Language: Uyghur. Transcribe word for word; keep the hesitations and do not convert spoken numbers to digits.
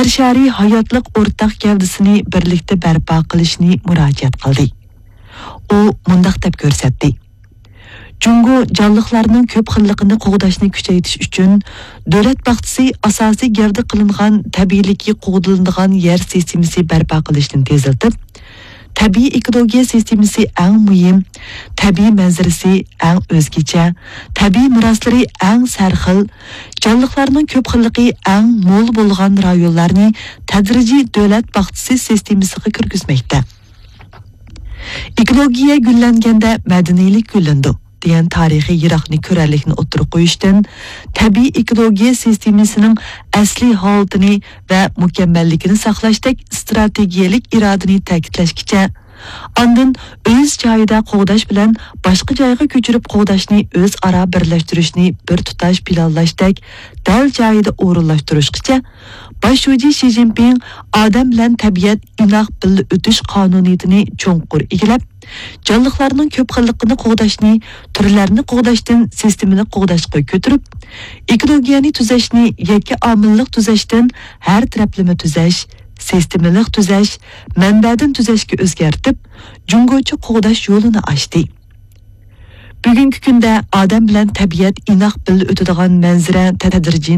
ئىستىشارىي ھاياتلىق ئورتاق گەۋدىسىنى بىرلىكتە بەرپا قىلىشنى مۇراجىئەت قىلدى. ئۇ مۇنداق دەپ كۆرسەتتى: جۇڭگو جانلىقلارنىڭ كۆپ خىللىقىنى قوغداشنى كۈچەيتىش ئۈچۈن، دۆلەت باغچىسى ئاساسىي گەۋدە قىلىنغان تەبىئىيلىكى قوغدىلىدىغان يەر سىستېمىسى بەرپا قىلىشنى تېزلىتىپ، تەبىئىي ئېكولوگىيە سىستېمىسى ئەڭ مۇھىم، تەبىئىي مەنزىرىسى ئەڭ ئۆزگىچە، تەبىئىي مىراسلىرى ئەڭ سەرخىل، جانلىقلارنىڭ كۆپ خىللىقى ئەڭ مول بولغان رايونلارنى تەدرىجىي دۆلەت باغچىسى سىستېمىسىغا كىرگۈزمەكتە. ئېكولوگىيە گۈللەنگەندە مەدەنىيلىك گۈللىنىدۇ، دېگەن تارىخىي يىراقنى كۆرەرلىكنى ئوتتۇرىغا قويۇشتىن، تەبىئىي ئېكولوگىيە سىستېمىسىنىڭ ئەسلىي ھالىتىنى ۋە مۇكەممەللىكىنى ساقلاشتەك ئىستراتېگىيەلىك ئىرادىنى تەكىتلەشكىچە، ئاندىن ئۆز جايىدا قوغداش بىلەن باشقا جايغا كۆچۈرۈپ قوغداشنى ئۆزئارا بىرلەشتۈرۈشنى بىر تۇتاش پىلانلاشتەك دەل جايىدا ئورۇنلاشتۇرۇشقىچە، باش شۇجى شى جىنپىڭ ئادەم بىلەن تەبىئەت ئىناق بىللە ئۆتۈش قانۇنىيىتىنى چوڭقۇر ئىگىلەپ، جانلىقلارنىڭ كۆپ خىللىقىنى قوغداشنى تۈرلەرنى قوغداشتىن سىستېمىلىق قوغداشقا كۆتۈرۈپ، ئېكولوگىيەنى تۈزەشنى يەككە ئامىللىق تۈزەشتىن ھەر تەرەپلىمە تۈزەش، سىستېمىلىق تۈزەش، مەنبەدىن تۈزەشكە ئۆزگەرتىپ، جۇڭگوچە قوغداش يولىنى ئاچتى. بۈگۈنكى كۈندە ئادەم بىلەن تەبىئەت ئىناق بىللە ئۆتىدىغان مەنزىرە تەدرىجىي